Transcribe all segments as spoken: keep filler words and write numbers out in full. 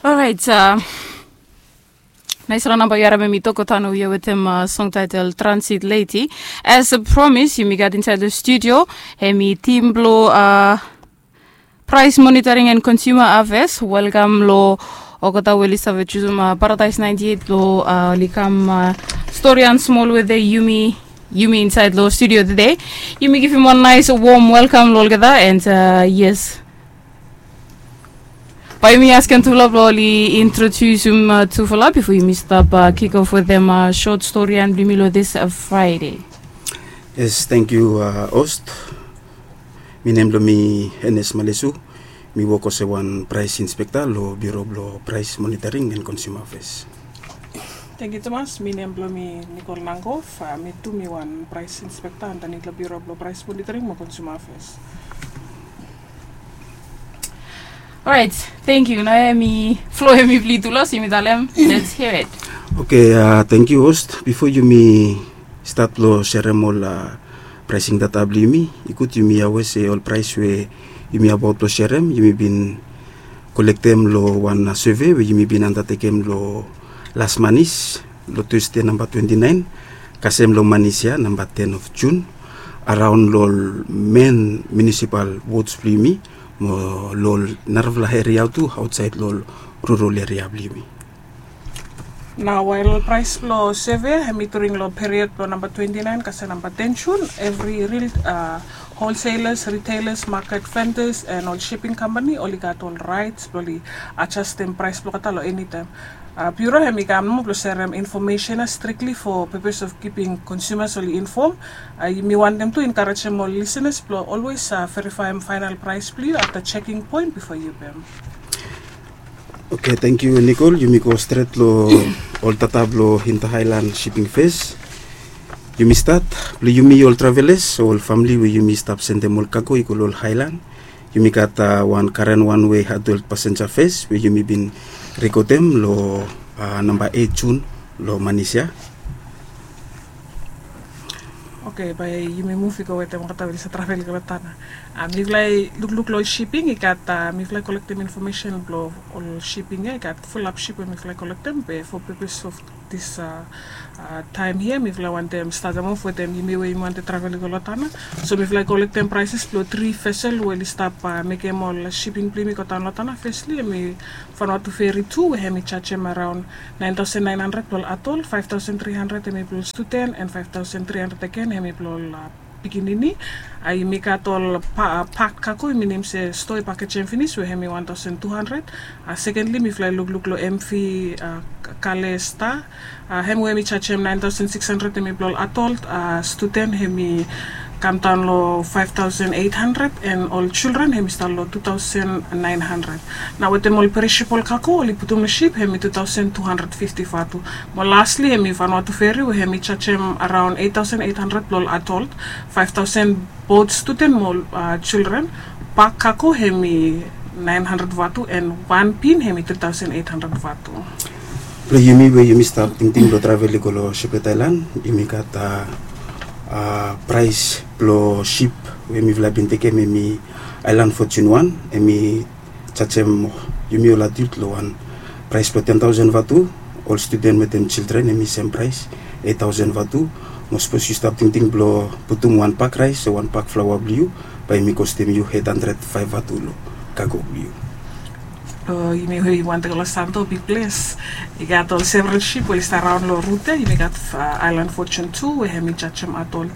Orait, nais long namba yu harim em i Toko Tano we yu wetem song title Transit Lady. As a promise, yumi gat insaed long studio hemi tim blong Price Monitoring and Consumer Affairs. Welkam long olgeta we oli save jusum Paradise ninety eight blong oli kam storian smol wetem yumi, yumi insaed long studio tede. Yumi givim wan nais wom welkam long olgeta, and yes, bae yumi askem tufala blong oli introdusum tufala bifo yumi stap kick off wetem sot storian blong yumi long this Friday. Yes, thank you, host. Mi nem blong mi Enes Malesu. Mi wok olsem wan price inspector long Bureau blong Price Monitoring and Consumer Affairs. Thank you tumas. Mi nem blong mi Nicole Nangov. Mi tu mi wan price inspector andanit long Bureau blong Price Monitoring mo Consumer Affairs. Orait, thank you. Nao hemi flow hemi blong yu tu los, yumi talem. Let's hear it. Okay, thank you, host. Bifo yumi stat long serem ol pricing data blong yumi, i gud yumi aware se ol price we yumi abaot blong serem yumi bin kolektem long wan survey we yumi bin andatekem long las manis, long Tuesday namba twenti naen kasem long manis ya namba ten of June, araon long ol men municipal wards blong yumi mo long ol narafala eria tu aotsaed long ol rural eria blong yumi. Nao wael ol price blong survey hemi during long period blong namba twenti naen kasem namba ten June, evri ril wholesalers, retailers, market vendors and ol shipping company oli gat ol rights blong oli adjustem price blong olgeta long enitaem. Bureau hemi kam nomo blong serem infomesen ya strictly for purpose of keeping consumers oli inform. Mi wantem tu encouragem ol listeners blong always verifaem final price blong yu afta checking point bifo yu pem. Okay, thank you, Nicole. Yumi go stret long ol data blong Inter Island Shipping fes. Yumi stat blong yumi ol travelers, ol famili we yumi stap sendem ol cargo i go long ol island. Yumi gat wan karen wan we adult passenger fes we yumi bin rekodem long namba eit June long manis ya. Okay, bae yumi muv i go wetem olgeta we oli save travel i go long Tanna. Mifala i lukluk long ol shipping i gat, mifala i kolektem infomesen blong ol shipping ya i gat fulap ship we mifala i kolektem be for purpose of this taem hia mifala i wantem statem of wetem yumi we yumi wantem travel i go long Tanna. So mifala i kolektem prices blong tri vessel we oli stap mekem ol shipping blong yumi i go daon long Tanna. Fesli hemi Vanuatu Ferry tu we hemi jajem araon naen taosen naen handred blong ol adult, faef taosen tri handred hemi blong ol studen and faef taosen tri handred agen hemi blong ol pikinini. Yumi gat ol pak kago, i minim se stoa i pakejem finis we hemi wan taosen tu handred. Sekendli mifala i lukluk long MV Kale Star, hem we hemi jajem naen taosen sikis handred hemi blong ol adult, studen hemi kamdaon long faef taosen eit handred and ol jildren hemi stat long tu taosen naen handred. Nao wetem ol perishabol kago oli putum long ship hemi tu taosen tu handred fifti vatu. Mo lasli hemi Vanuatu Ferry we hemi jajem araon eit taosen eit handred blong ol adult, faef taosen both studen mo jildren. Pak kago hemi naen handred vatu and wan bin hemi tri taosen eit handred vatu. Blong yumi we yumi stap tingting blong travel i go long Shipyard Island, yumi gat praes blong ship we mifala bin tekem hemi Island Fortune wan, hemi jajem yumi ol adult long wan praes blong ten taosen vatu. Ol studen wetem jildren hemi sem praes, eit taosen vatu. Mo sapos yu stap tingting blong putum wan pak raes o wan pak flaoa blong yu, bae hemi kostem yu eit handred faef vatu long kago blong yu. Blong yumi we yumi wantem go long Santo, big ples. I gat ol several ship we oli stap raon long rut ya. Yumi gat Island Fortune tu we hemi jajem adult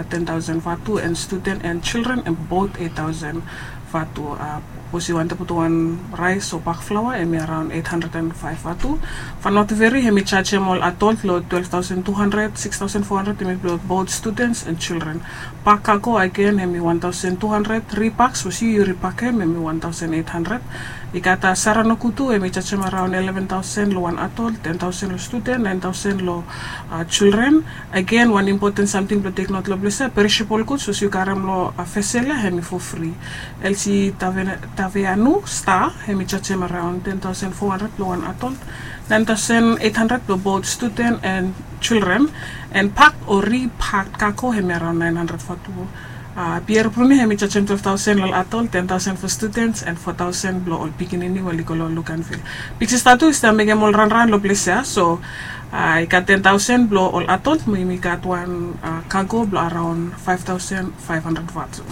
ten taosen vatu and studen and jildren hem both eit taosen vatu. Sapos yu wantem putum wan raes o pak flaoa hemi araon eit handred and faef vatu. Vanuatu Ferry hemi jajem ol adult long twelef taosen tu handred, sikis taosen fo handred hemi blong both students and jildren. Pak kago agen hemi wan taosen tu handred, ripak, sapos yu yu ripakem hemi wan taosen eit handred. I gat Saranaku tu hemi jajem araon eleven taosen long wan adult, ten taosen long studen, naen taosen long jildren. Agen, wan impoten samting blong teknot long ples ya, perishabol guds sapos yu karem long vesel ya hemi fo fri. LC Taveanu Star hemi jajem araon ten taosen fo handred blong wan adult, naen taosen eit handred blong both studen and jildren. And pak o ripak kago hemi araon naen handred vatu. Pier Bruni hemi jajem twelve thousand long ol adult, ten thousand for students and four thousand blong ol pikinini we oli go long look and feel. Big Sister tu i stap mekem ol ranran long ples ya, so i gat ten thousand blong ol adult, mo yumi gat wan cargo blong araon five thousand five hundred vatu.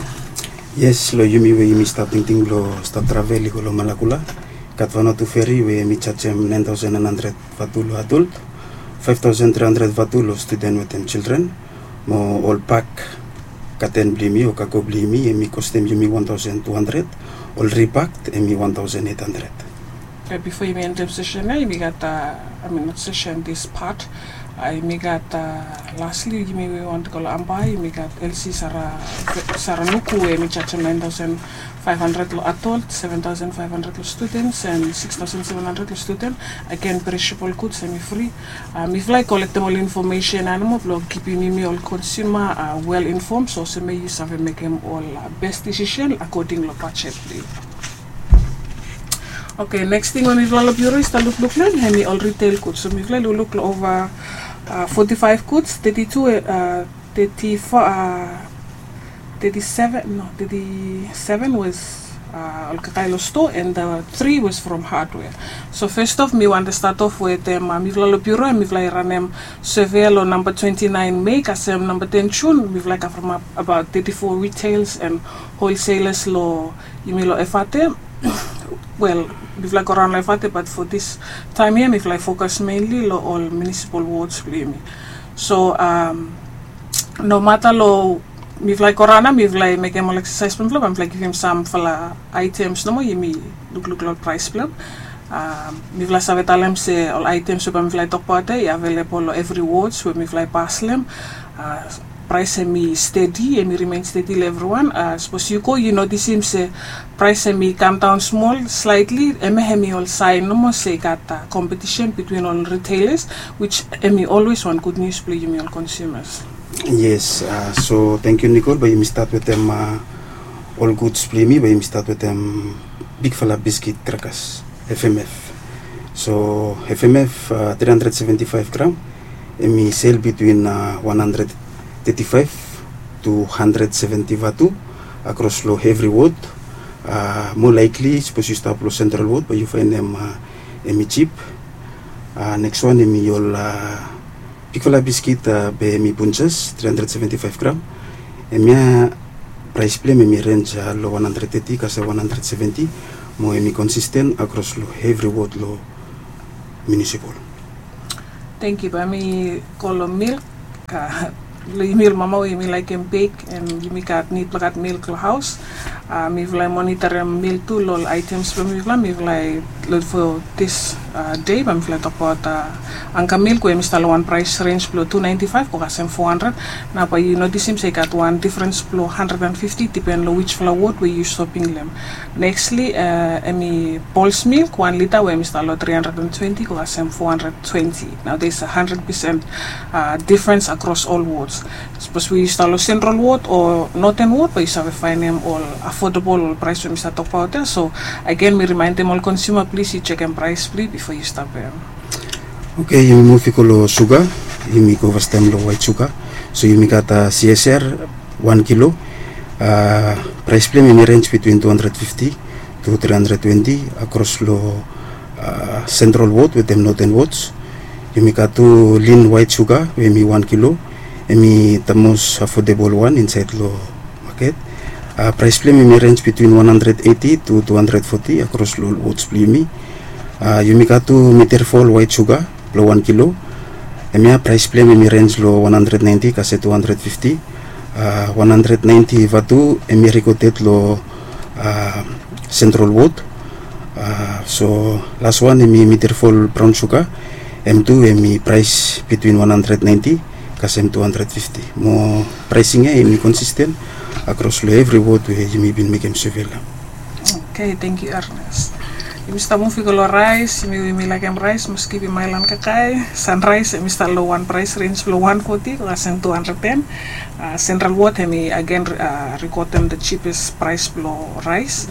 Yes, long yumi we yumi stap tingting blong stap travel i go long Malakula, gat wan o tu feri we hemi jajem nine thousand nine hundred vatu long adult, five thousand three hundred vatu long student wetem children. Mo ol pak katen blong yumi o cargo blong yumi, hemi kostem yumi one thousand two hundred, ol ripak hemi one thousand eight hundred. Bifo yumi endem session ya, yumi gat, I mean, not session, this part, yumi gat, lastly, yumi we want to go long Ambae, yumi gat L C Sara, Sara Nuku we hemi jajem nine thousand five hundred long adult, seven thousand five hundred long students and six thousand seven hundred long student. Again, perishable goods hemi free. Mifala i kolektem ol information ya nomo blong kipim yumi ol consumer well informed, so olsem we yu save mekem ol best decision according long budget blong yu. Okay, next thing we mifala long bureau i stap lukluk long hem hemi ol retail goods. So mifala i lukluk long over forty-five goods, thirty-two, thirty-four, thirty-seven, no, thirty-seven was ol kakae long store, and the three was from hardware. So first off, mi wantem start off wetem mifala long bureau, mifala i ranem survey long namba twenty-nine May kasem namba ten June, mifala i cover up about thirty-four retails and wholesalers long yumi long Efate. Well, mifala i go raon long Efate, but for this time here mifala i focus mainly long ol municipal wards blong yumi. So no matter long mifala i go raon ya, mifala i mekem ol exercise blong mifala, mifala i givim samfala items nomo, yumi lukluk long ol price blong hem. Mifala save talem se ol items we bae mifala i tokbaot ya i available long every wards we mifala i pas long hem. Price hemi steady, hemi remain steady long evriwan. Sapos yu go yu notisim se price hemi come down small slightly, hemia hemi ol sign nomo se i gat competition between ol retailers, which hemi always wan good news blong yumi ol consumers. Yes, so thank you Nicole, bae yumi start wetem ol goods blong yumi, bae yumi start wetem bigfala biscuit crackers, F M F. So F M F three hundred seventy-five gram, hemi sell between one hundred thirty-five to hundred seventy vatu across long every ward. More likely sapos yu stap long Central Ward bae yu faenem hemi cheap. Next one hemi ol bigfala biscuit, bae hemi Bunches, three hundred seventy-five gram. Hemia price blong hem hemi range long one hundred thirty kasem one hundred seventy, mo hemi consistent across long every ward long municipal. Thank you. Bae mi go long milk. Long yumi ol mama we yumi laekem bake and yumi gat nid blong gat milk long haos, mifala i monitorem milk tu long ol items blong mifala. Mifala i, long for this day bae mifala i tokbaot Anchor milk we hemi stap long wan price range blong two ninety-five go kasem four hundred. Nao bae yu notisim se i gat wan difference blong hundred and fifty, depend long whichfala ward we yu shopping long hem. Nextly hemi Pulse milk, wan lita we hemi stap long three hundred and twenty go kasem four hundred twenty. Nao there's a hundred percent difference across all wards. Sapos we yu stap long Central Ward o Northern Ward, bae yu save faenem ol affordable ol price we mi stap tokbaot ya. So again mi remindem ol consumer, plis yu jekem price blong yu bifo yu stap baem. Okay, yumi muv i go long suga. Yumi go fastaem long white suga. So yumi gat C S R, wan kilo. Price blong hem hemi range between two hundred fifty to three hundred twenty across long Central Ward wetem Northern Wards. Yumi gat tu lean white suga we hemi wan kilo. Hemi the most affordable one insaed long market. Price blong hem hemi range between one hundred eighty to two hundred forty across long ol wards blong yumi. Yumi gat tu Meterfol white suga blong wan kilo. Hemia price blong hem hemi range long one hundred ninety kasem two hundred fifty. One hundred ninety vatu hemi recorded long Central Ward. So last one hemi Meterfol brown suga. Hem tu hemi price between one hundred ninety kasem two hundred fifty. Mo pricing ya hemi consistent across long every ward we yumi bin mekem survey long hem. Okay, thank you Ernest. Yumi stap muv i go long rice. Yumi, yumi laekem rice, maski yumi mael long kakae. Sunrise hemi stap long wan price range blong one forty go kasem two hundred ten. Central Ward hemi again recordem the cheapest price blong rice.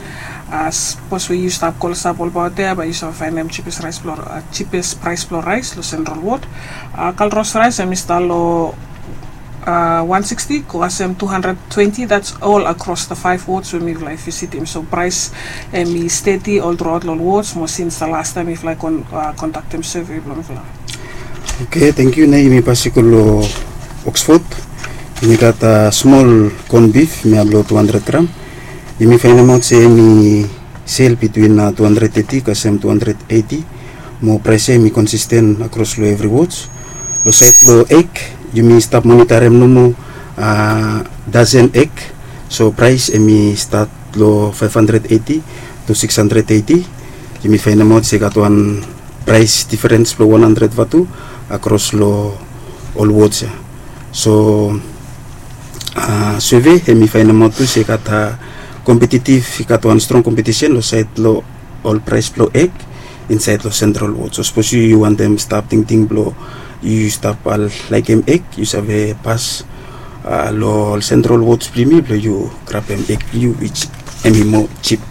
Sapos we yu stap kolosap olbaot ya bae yu save faenem cheapest rice blong, cheapest price blong rice long Central Ward. Kalros rice hemi stap long One sixty go kasem two hundred twenty, that's all across the five wards we mifala i visitim. So praes hemi stedi ol truaot long ol wards mo sins the last taem mifala i kondaktem survey blong mifala. Oke, tangkiu. Nao yumi pas i go long Oxford. Yumi gat smol corn beef, hemia blong two hundred gram. Yumi faenemaot se hemi sel bitwin two hundred thirty kasem two hundred eighty. Mo praes ia hemi konsisten akros long evri wards. Long saed blong eg, yumi stap monitarem nomo dozen eg. So praes hemi stat long five hundred eighty to six hundred eighty. Yumi faenemaot se i gat wan praes diferens blong one hundred vatu akros long ol wards ia. So survey hemi faenemaot tu se i gat kompetitiv, i gat wan strong kompetisen long saed long ol praes blong eg insaed long sentral wod. So sapos yu yu wantem stap tingting blong yu stap laekem eg, yu save pas long ol sentral wods blong yumi blong yu grabem eg blong yu, which hemi moa jip.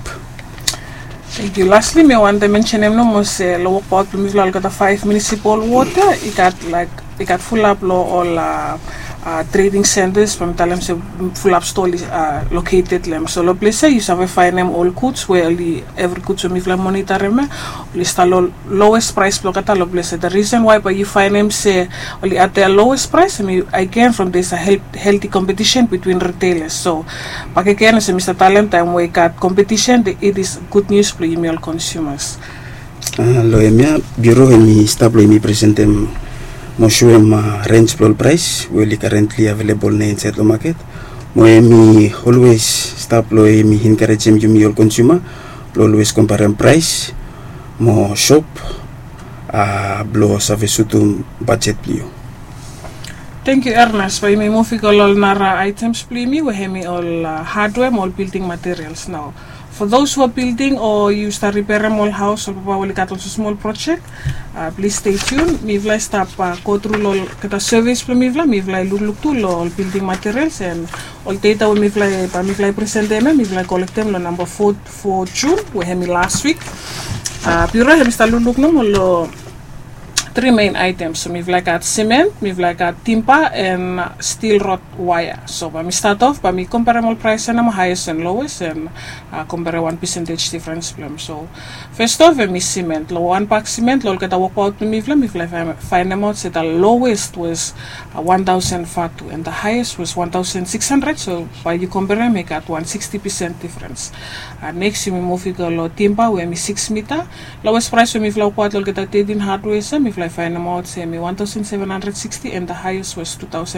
Tangkiu. Lastly mi wantem mensenem nomo se long wokbaot blong mifala olgeta faef munisipal wod ia i gat laek i gat fulap long ol trading centers, bae mi talem se fulap stoa oli located long hem. So long ples ia yu save faenem ol guds we oli, evri guds we mifala i monitarem ia oli stap long lowest praes blong olgeta long ples ia. The reason why bae yu faenem se oli at their lowest price, hemi again from there's a healthy competition between retailers. So bakegen olsem mi stap talem, taem we i gat competition, it is good news blong yumi ol consumers. Long hemia biuro hemi stap blong yumi presentem mo soem rens blong ol praes we oli karentli avelebol nao insaed long maket. Mo hemi olwes stap blong yumi enkarejem yumi ol konsuma blong olwes komparem praes mo sop blong save sutum bajet blong yu. Tangkiu Ernest. Bae yumi muv i go long ol nara aetems blong yumi we hemi ol hadwea mo ol bilding materials nao. For those who are building o yu stap riperem ol haos, ol papa we oli gat ol smosmol projek, plis stay tuned. Mifala i stap go tru long olgeta surveys blong mifala, mifala i lukluk tu long ol building materials and ol data we mifala i bae mifala i presentem ia mifala i kolektem long namba four, four June we hemi last week. Biuro hemi stap lukluk nomo long tri main aetems. So mifala i gat cement, mifala i gat timba and steel rod wire. So bae mi start off bae mi komperem ol praes ia nomo, highest and lowest, and komperem wan percentage difference blong hem. So first off hemi cement. Long wan bak cement long olgeta wokbaot blong mifala, mifala i faenemaot se the lowest was one thousand vatu and the highest was one thousand six hundred. So bae yu komperem i gat wan sixty percent difference. Neks yumi muv i go long timba we hemi six mita. Lowest praes we mifala i wokbaot long olgeta thirteen hardwares ia mifala i faenemaot se hemi one thousand seven hundred sixty and the highest was two thousand